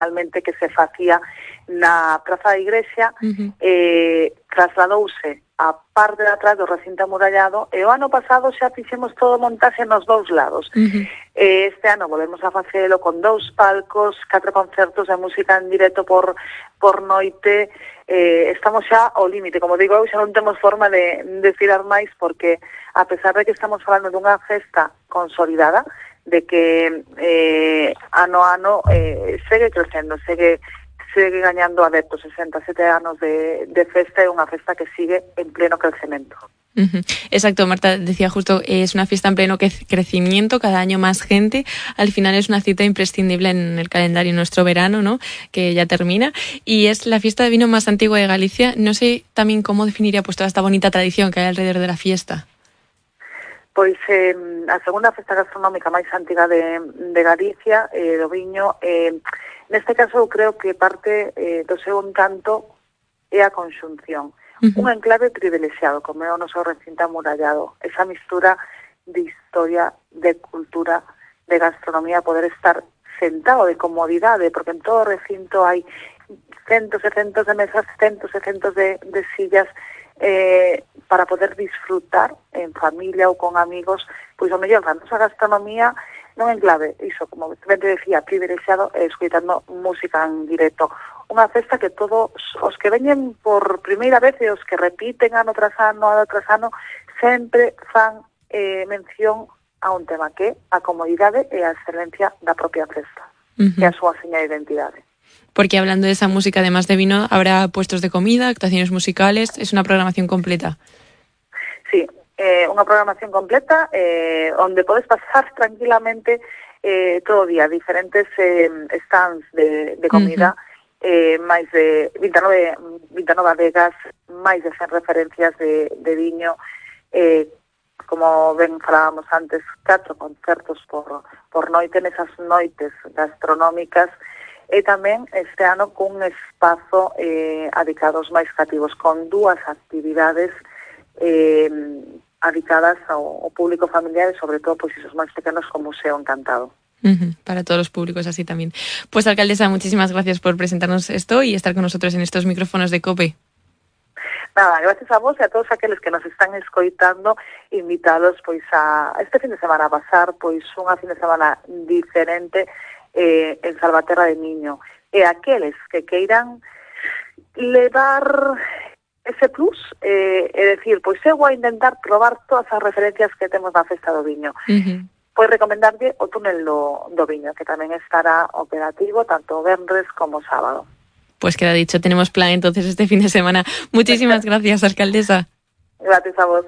realmente que se facía na Praza da Igrexa, trasladouse a parte de atrás do recinto amurallado e o ano pasado xa fixemos todo montaxe nos dous lados. Este ano volvemos a facelo con 2 palcos, 4 concertos de música en directo por noite. Estamos xa ao límite, como digo, xa non temos forma de tirar máis, porque a pesar de que estamos falando dunha festa consolidada, de que ano a ano segue crecendo, segue gañando adeptos. 67 anos de festa, é unha festa que sigue en pleno crecemento. Exacto, Marta decía justo, es una fiesta en pleno crecimiento, cada año más gente, al final es una cita imprescindible en el calendario nuestro verano, ¿no?, que ya termina, y es la fiesta de vino más antigua de Galicia. No sé también cómo definiría pues toda esta bonita tradición que hay alrededor de la fiesta. Pois a segunda festa gastronómica máis antiga de Galicia, do viño, neste caso eu creo que parte do seu encanto é a conxunción. Un enclave privilexiado, como é o noso recinto amurallado. Esa mistura de historia, de cultura, de gastronomía, poder estar sentado, de comodidade, porque en todo o recinto hai centos e centos de mesas, centos e centos de sillas, para poder disfrutar en familia ou con amigos, pois o mellor da nosa gastronomía non enclave, iso, como ben te decía, privilexiado, escoitando música en directo. Unha festa que todos os que veñen por primeira vez e os que repiten ano tras ano, sempre fan mención a un tema que é a comodidade e a excelencia da propia festa, que é a súa seña de identidade. Porque hablando de esa música, además de vino, habrá puestos de comida, actuaciones musicales, es una programación completa. Sí, unha programación completa onde podes pasar tranquilamente todo o día, diferentes stands de comida, máis de 29 adegas, máis de 100 referencias de viño, como ben falábamos antes, 4 concertos por noite nesas noites gastronómicas, e tamén este ano cun espazo adicado aos máis cativos, con 2 actividades adicadas ao público familiar e sobre todo pois esos máis pequenos, como Museo Encantado. Para todos los públicos así también. Pues alcaldesa, muchísimas gracias por presentarnos esto y estar con nosotros en estos micrófonos de COPE. Nada, gracias a vos e a todos aqueles que nos están escoitando, invitados pois a este fin de semana a pasar pois unha fin de semana diferente en Salvaterra de Miño, e aqueles que queiran levar ese plus, é decir, pois eu vou a intentar probar todas as referencias que temos na Festa do Viño. Pois recomendarlle o túnel do Viño, que tamén estará operativo tanto venres como sábado. Pues queda dicho, tenemos plan entonces este fin de semana. Muchísimas gracias, alcaldesa. Gracias a vos.